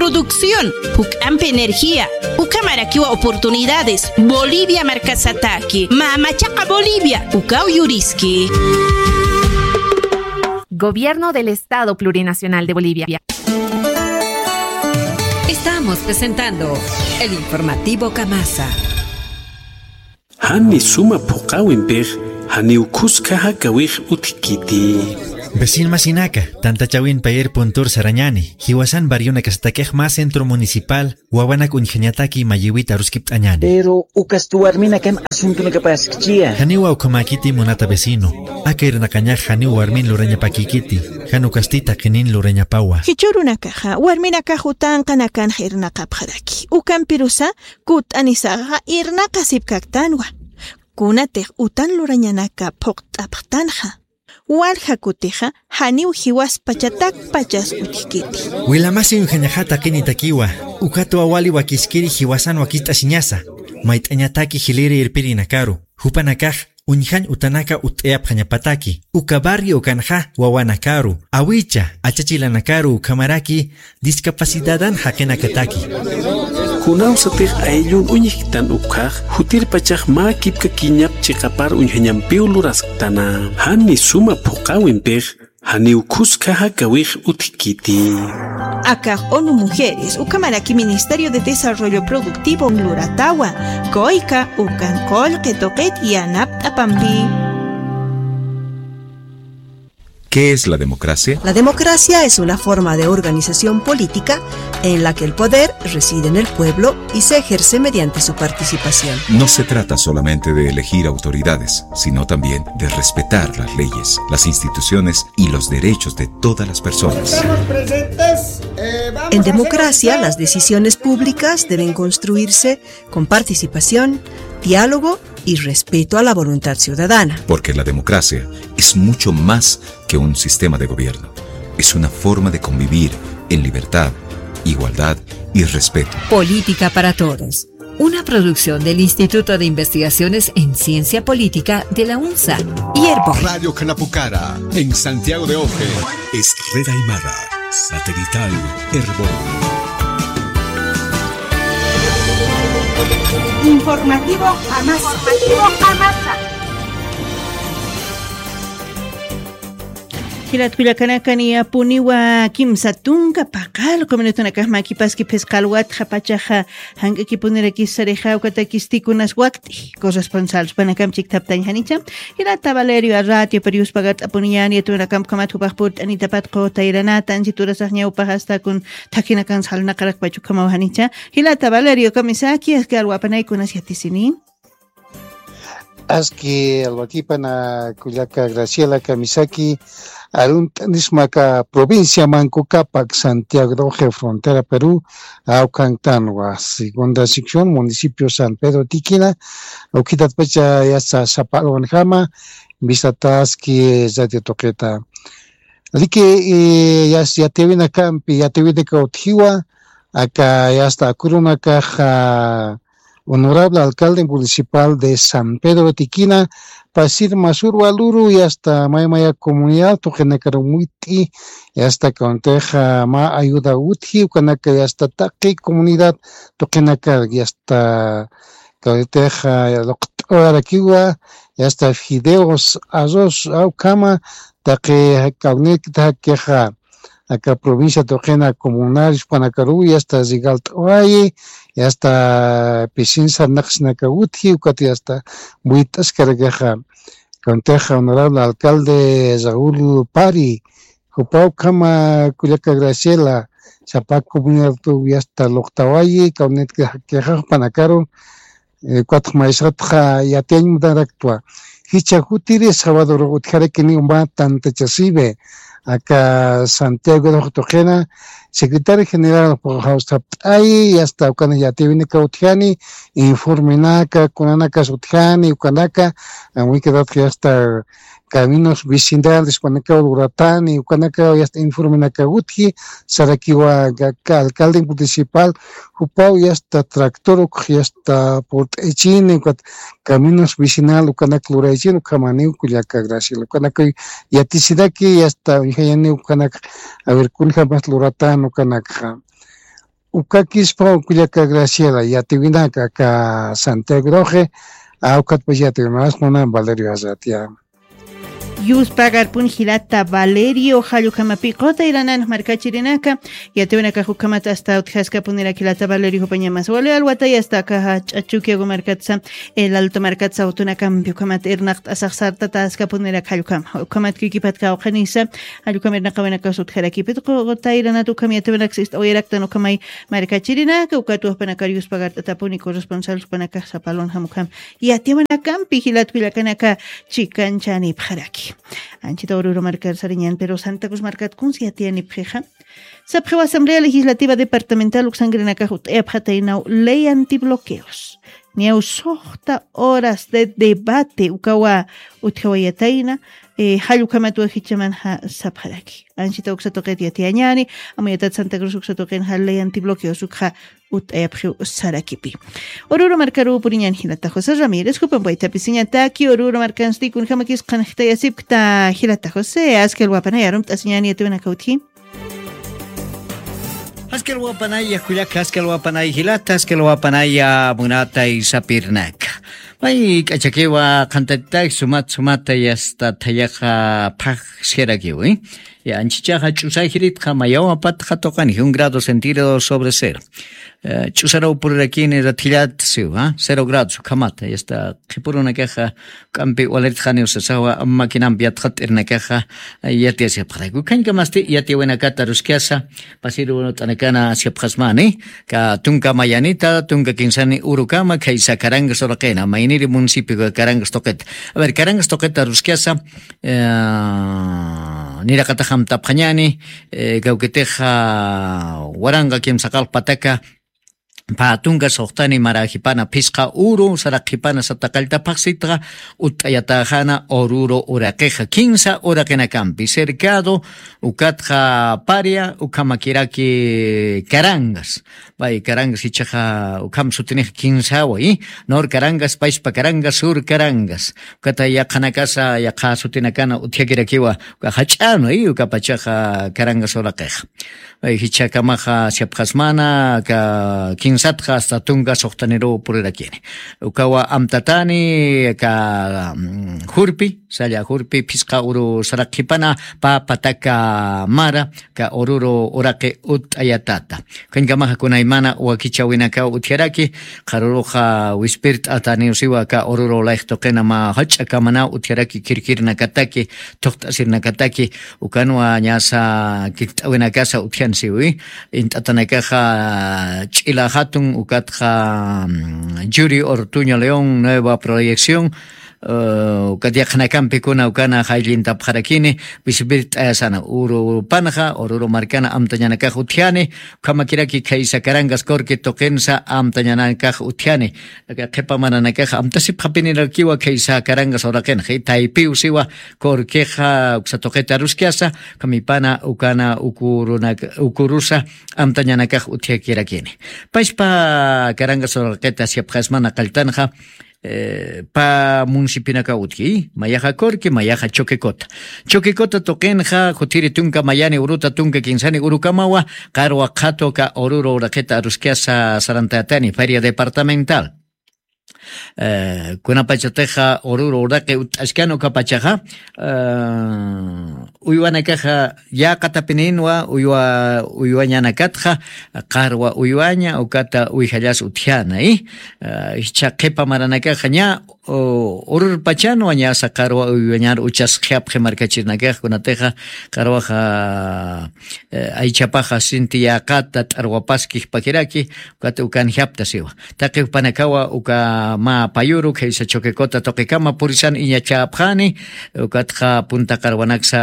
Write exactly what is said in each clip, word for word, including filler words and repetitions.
Producción, juk'ampi energía, ukhamarakiwa oportunidades, Bolivia markasataki, mamachaqa Bolivia, ukaw yuriski. Gobierno del Estado Plurinacional de Bolivia. Estamos presentando el informativo Kamasa. Jani suma phuqäwimpix, janiw khuska jakawix utjkiti. Vecinomasinaka, tantachäwin payer puntur sarañäni, jiwasan barrionakastakix mä centro municipal, wawanak uñjañataki mayïwit aruskipt'añäni. Pero ukasti warminakam asuntonakapaskchiya. Janiwa ukhamäkiti munata vecino, aka irnaqañax janiw warmin lurañapakïkiti, jan ukasti taqinin lurañapawa. Jichhürunakaxa, warminakax utanqanakanx irnaqapxaraki. Ukampirusa, kutt'anisaxa irnaqasipkaktanwa. Kunatix utan lurañanaka phuqt'apxtanxa. Walja kutixa janiw jiwaspachatakpachas utjkiti. Wilamasi uñjañaxa taqinitakiwa, ukatwa wali wakiskiri jiwasan wakicht'asiñasa. Mayt'añataki jiliri irpirinakaru, jupanakax uñjañ utanaka utt'ayapxañapataki, uka barrio ukanxa wawanakaru, awicha, achachilanakaru ukhamaraki discapacidadan jaqinakataki. Kunawsatix ayllun uñjktan ukhax, jutirpachax mä kipkakiñap chiqapar uñjañampiw lurasktana. Jani suma phuqäwimpix, janiw khuska jakawix utjkiti. Akax ONU Mujeres, ukhamaraki Ministerio de Desarrollo Productivo luratawa, COICA, ukan qullqi tuqit yanapt'apampi. ¿Qué es la democracia? La democracia es una forma de organización política en la que el poder reside en el pueblo y se ejerce mediante su participación. No se trata solamente de elegir autoridades, sino también de respetar las leyes, las instituciones y los derechos de todas las personas. En democracia, las decisiones públicas deben construirse con participación, diálogo y respeto a la voluntad ciudadana. Porque la democracia es mucho más que un sistema de gobierno. Es una forma de convivir en libertad, igualdad y respeto. Política para Todos, una producción del Instituto de Investigaciones en Ciencia Política de la UNSA y Erbol. Radio Khanapukhara, en Santiago de Oje. Es red aymara, satelital, Erbol. Informativo Amasa. Informativo Amasa. Jilat kullakanaka, niyapuniwa kimsa tunka paqallqu minutunakax makipaski phisqa alwatxa pachaxa jank'akipunirakis sarixa, ukatakisti kunas wakt'i corresponsal jupanakam chikthaptañ janicha. Jilata Valerio, a ratio periuspagat'apuniñäni, yatuyunakamp ukhamat jupax purt'anitapat qutayiranata, ansi turasax ñawpax asta kun thakinakan salnaqarakpach ukhamaw janicha. Jilata Valerio, kamisaki, aski alwapanay kunas yatisini. Aski alwakipana kullaka Graciela, kamisaki, arunt'anismaka provincia Manco Cápac, Santiago de Oje, frontera Perú, awkantanwa, segunda sección, municipio San Pedro Tiquina, ukhitatpacha yasta sapa alwanjama, visataski radio tuqita. Riki, eh, yas yatiwinakampi, yatiwinaka utjiwa, aka yasta akurunakaxa, honorable alcalde municipal de San Pedro Tiquina, pasir masur waluru, yasta maymaya comunidad tuqinakar muyt'i, yasta kawantix mä ayuda utji, ukanaka yasta taqi comunidad tuqinakar yasta kawantix luqt'arakiwa, yasta fideos, arroz, ukhama, taqi kawnikta jakixa, aka provincia tuqina comunarios jupanakaruw yasta regalt'awayi, yasta pisin sarnaqsinaka utji, ukat yasta muyt'askarakixa. Kawantix honorable alcalde Raúl Pari, jupaw ukhama kullaka Graciela, sapa comunidad yasta luqt'awayi, kawnikta jakixa jupanakaru, eh, ukatx maysatxa yatiyañ munaraktwa. Jichha jutiri sabadorux utjarakiniw mä tantachasiwi, aka Santiago de Oje tuqina, secretario general jawst'apt'ayi, yasta ukanak yatiyawinak utjani, informenaka, kunanakas utjani, ukanaka, amuykatatx yasta caminos vecinales, ukanakaw luratani, ukanakaw yasta informenaka utji, sarakiwa ka, ka alcalde municipal, jupaw yasta tractor ukx yasta purt'aychini, ukat caminos vecinal ukanak luraychini, ukhamaniw kullaka Graciela, ukanakaw yatisinaki, yasta uñjañani ukanak, a ver, kunjamas luratan ukanakxa. Ukakispa ukllaka Graciela yatiwinaka aka Santiagroxi. Awkatpach yatiwimas quna Valerio Arratia. Yuspagarpun jilata Valerio jallukamapi qutayranan markachirinaka. Yatiwinakax ukhamat asta utjaskapuniraki jilata Valerio jupañamas wali alwatay asta aka ch'achukiagu markatsa. El alto markatsa utunakampi ukhamat irnaqt'asax sartataskapuniraka jallukama ukhamat kikipat kawqhanisa. Jallukama irnaqawinakas utjarakipit qutayranat ukham yatiwinakas ist'awayaraktan ukhamay markachirinaka ukatuwajpanakar yuspagart'atapuni corresponsal jupanakax sapalun jamukham. Yatiwanakampi jilatkullakanaka chikanchanipxaraki. Anchita ururu markar sariñan pero santa cruz markat kunsi yatiyanipxixa. Sapxiwa asamblea legislativa departamental uksangrinakax ut'ayapxataynaw ley antibloqueos. Niyaw suxta horas de debate ukawa utjawayatayna. Jallukhamat wajichamanxa sapxaraki anchita uksatuqit yatiyañani. Amuyatat santa cruz uksatuqinxa ley antibloqueos ukxa ut'ayapxiw sarakipi. Ururu markaru puriñan jilata josé ramírez jupan paytapisiñataki ururu markansti kunjamakis qhanxtayasipkta jilata josé askalwapanay arumt'asiñani yatiwanaka utji. Askalwapanaya kullaka askalwapanay jilata askalwapanaya munatay sapirnaka. May k'achakiwa qhantatitaki sumat sumata yasta thayaqa phaxsirakiwi. Anchichaxa ch'usay jiritqa mayawa patxa tuqani un grado centígrado sobre cero. Ch'usaraw purirakini rathillat siwa cero grados ukhamata yasta qhipurunakaxa. K'ampi waliritxani usasawa maquinampi yatxat'irnakaxa. Yatiyasipxarayku khañkamasti yatiyawinakata ruskasa. Pasirunut'anakana asipxasmani ka tunka mayanita tunka kinsani urukama khaysa karangas uraqina mayniri municipio karangas tuqita. A ver karangas tuqita ruskasa. Niraqataxamtapxañani kawkitixa waranqa kimsaqalqpataka. Pä tunka suxtani marajipana phisqa uru saraqjipana sataqalltaphaxsitxa. Utt'ayataxana ururu uraqixa kinsa uraqinakampi cercado ukatxa paria ukhamakiraki karangas. Pay karangas ichaxa ukham sutinix kinsawa i nor karangas payspa karangas sur karangas. Ukata yaqhanakasa yaqha sutinakana utjakirakiwa uka jach'anu i ukapachaxa karangas uraqixa. Jichhakamaxa siapxasmana ka kinsatxa asta tunka suxtaniruw purirakini. Ukawa amtatani ka jurpi salla jurpi phisqa uru saraqjipana pä pataka mara ka ururu uraqi utt'ayatata. Khañkamaxa kunaymana wakichawinakaw utjaraki. Qharuruxa wispirt'ataniw siwa ka ururu layxtuqina mä jach'akamanaw utjaraki kirkirnakataki thuqt'asirnakataki. Ukanwa ñasa kirt'awinakasa utjansiwi. Int'atanakaxa ch'ila jatun ukatxa yuri ortuño león nueva proyección. Ukat yaqhanakampi kuna ukana jayllintapxarakini bisibirt'ayasana urupanxa ururu markana amtañanakax utjani. Ukhamakiraki khaysa karangas corque tuqinsa amtañanakax utjani. Qhipa maranakax amtasipxapinirakiwa khaysa karangas uraqinxa taypiw siwa corquexa uksa tuqita ruskasa. Ukhamipana ukana ukurusa amtañanakax utjakirakini. Payspa karangas uraqita siapxasmana qalltanxa. Pä municipionakaw utji mayaxa corque mayaxa choquecota. Choquecota tuqinxa jutiri tunka mayani uruta tunka kinsani urukamawa qarwa qhatu ka ururu uraqita aruskasa sarantatani feria departamental. Kunapachatixa ururu uraqi utt'askani ukapachaxa uywanakaxa yäqatapininwa uywa uywañanakatxa qarwa uywaña ukata uyjallas utjana i jichha qhipa maranakaxa ña ururpachanwa ñasa qarwa uywañar uchasqhiapxi markachirnakax kunatixa qarwaxa aychapaxa sinti yäqata t'arwapaskixpakiraki. Ukata ukanjapta siwa taqi jupanakawa uka mä payuru khaysa choquecota tuqikama purisan iñachäpxani. Ukatxa punta qarwanaksa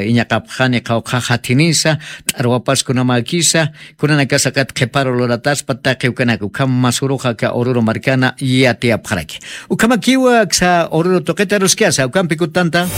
iñaqapxani qhawqha jathinisa t'arwapas kunamäkisa. Kunanakasakat qhiparu lurataspa taqi ukanaka ukham masuruxa ka ururu markana yatiyapxaraki. Ukhamakiwa aksa ururu tuqita ruskasa ukampi kutanta.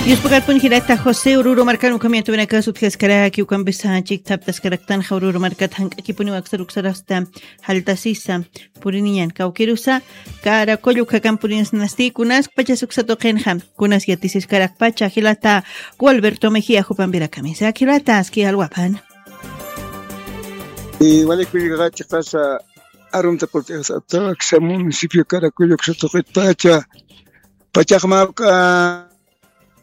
Yuspakarpun jilata josé ururu markan ukham yatawinakas utjaskaraki ukampisa chikthaptaskaraktanxa ururu markat jank'akipuniwa aksar uksarasta jaltasisa puriniñan kawkirusa karakull ukhakan purinisnasti kunaskpachas uksa tuqinxa. Kunas yatisiskarakpacha jilata gualberto mejia jupampirakamisa jilata aski alwapan. Wali kullkaxa chiqasa arumta purt'ixsata aksa municipio Caracuyo uksa tuqitpacha pachaxmapk'a